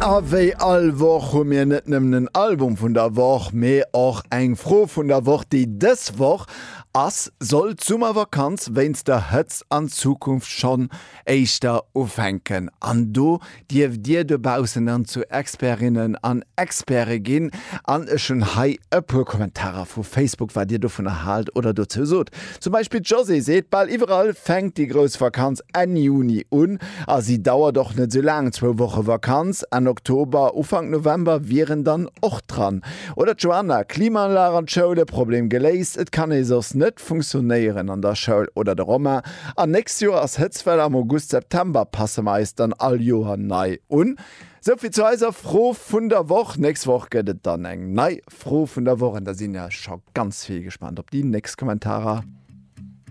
A wéi all Woch hu mir net nëmmen en Album vun der Woch, mee och eng Fro vun der Woch, déi dës Woch ass, Soll d'Summervakanz wéinst der Hëtzt an Zukunft schonn éischter ufänken? An do dierft Dir dobaussen dann zu Expertinnen an Experte ginn. An ech hunn hei e puer Kommentarer vu Facebook, wat Dir dovunner haalt oder dozou sot. Zum Beispill d'Josée seet, Bal iwwerall fänkt déi grouss Vakanz Enn Juni un a si dauert och net sou laang, zwou Woche Vakanz Enn Oktober, Ufank November wieren dann och dran. Oder d'Joanna, Klimaanlag an d'Schoule, Problem geléist, et kann ee soss net funktionéieren an der Schoul. Oder de Romain, An nächst Joer ass Hëtztwell am August, September, passe mer eis dann all Joer nei un. Souvill zu eiser Fro vun der Woch. Nächst Woch gëtt et dann eng nei Fro vun der Woch an da sinn ech scho ganz vill gespaant op déi nächst Kommentarer.